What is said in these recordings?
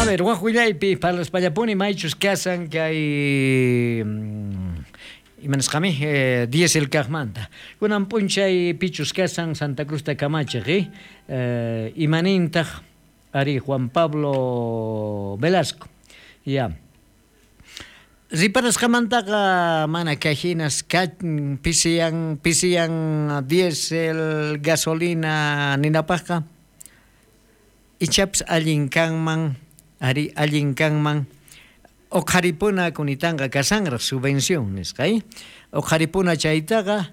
A ver, waj willaypi parlaspallapuni maychus kasan kay imanasqami diesel kajmanta. Kunan p'unchay pichus kasan Santa Cruzta kamachiq, imanintaq ari Juan Pablo Velasco. Ya. Riparasqamantaqa mana kay hinas pisiyan pisiyan diesel, gasolina ninapaqqa ichapis allin kanman, ari allin kanman uqharipuna kunitanqa kasanraq subvención nisqa, uqharipuna chaytaqa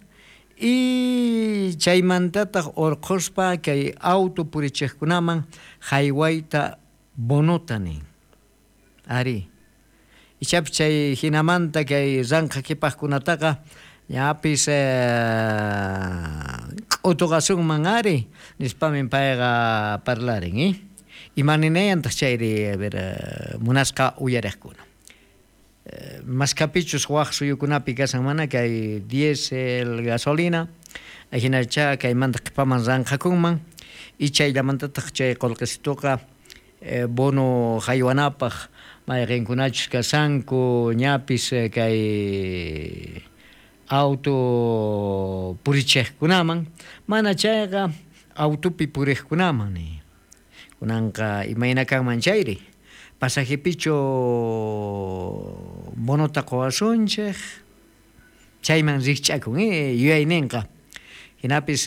y chaymantataq urqhuspa kay auto purichiqkunaman haywayta bonota nin. Ari. Ichapis chay hinamanta kay ranqa qhipaqkunataqa ñapis k'utuqasunman ari nispamin payqa parlarin, imaninayantaq chayri, a ver, munasqa uyariqkuna. Maskapichus waj suyukunapi kasan mana kay diesel, gasolina, ajinacha kaymanta qhipaman ranqakunman y chayllamantataq chay qullqisituqa bono haywanapaq mayqinkunachus kasanku ñapis kay auto purichiqkunaman mana chayqa autopi puriqkunaman ni. Kunanqa imayna kanman chayri pasajepichu bonota quwasunchik chayman rikch'akun yuyayninqa hinapis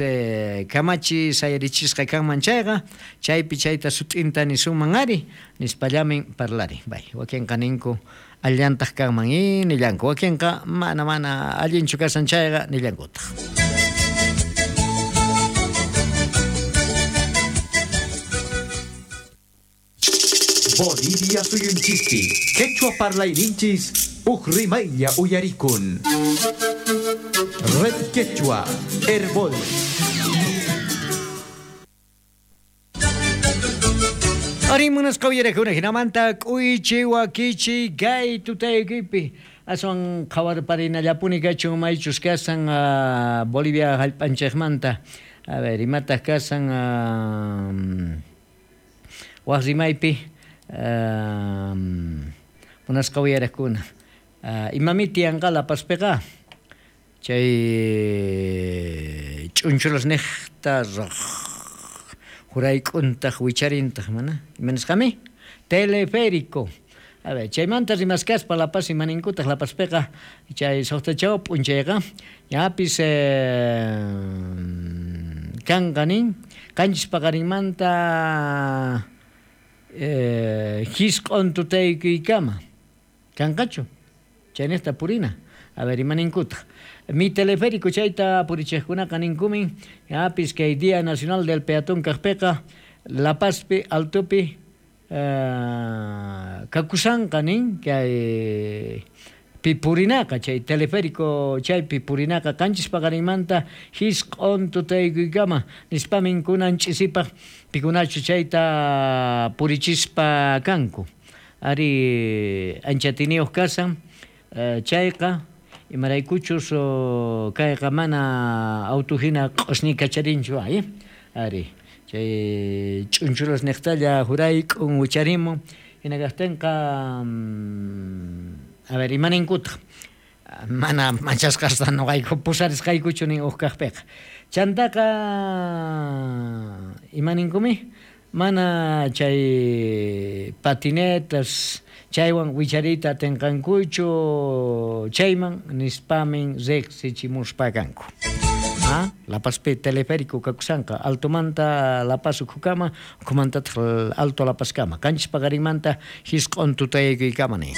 kamachi sayarichisqa kanman chayqa chaypi chayta sut'inta nisunman ari nispallamin parlarin. Bay, wakinqa ninku allantaq kanman nillanku, wakinqa mana mana allinchu kasan chayqa nillankutaq. Bolivia suyunchispi, quechua parlayninchis, uj rimaylla uyarikun. Red Quechua, Herbol. Ari munasqa uyarakuna hinamanta k'uychi wakichi kay tutaykipi aswan qhawarparinallapuni kachun maychus kasan Bolivia hallp'anchikmanta. A ver, imataq kasan waj rimaypi munasqa uyarakuna. Imami tiyanqa La Pazpiqa chay ch'unchulas niqta jurayk'untaq wicharintaq mana imanisqami teleférico. A ver, chaymanta rimaskaspa La Paz imaninkutaq La Pazpiqa chay suqtachaw p'unchayqa ñapis kanqa nin qanchis paqarinmanta hisq'un tutaykuykama kanqachu chayniqta purina. A ver, imaninkutaq mi teleférico chayta purichiqkunaqa ninkumin ñapis kay Día Nacional del Peatón kaqpiqa La Pazpi altopi kakusanqa nin kay pipurinaqa chay teleférico chaypi purinaqa qanchis paqarinmanta hisq'un tutaykuykama nispamin kunan ch'isipaq pikunachu chayta purichispa kanku. Ari anchatiniyuq kasan chayqa imaraykuchus kayqa mana auto hina q'usñi kacharinchu ari chay ch'unchulas niqtalla jurayk'un wicharimun hina kaqtinqa a ver, imaninkutaq mana machasqasta nuqayku pusarisqaykuchu nin uj kaqpiqa. Chantaqa imaninkumi mana chay patinetas chaywan wichariyta atinqankuchu chayman nispamin riqsichimuspa kanku. La Pazpi teleférico kakusanqa altomanta La Paz ukhukama ukhumantataq alto La Pazkama qanchis paqarinmanta hisq'un tutaykuykama nin.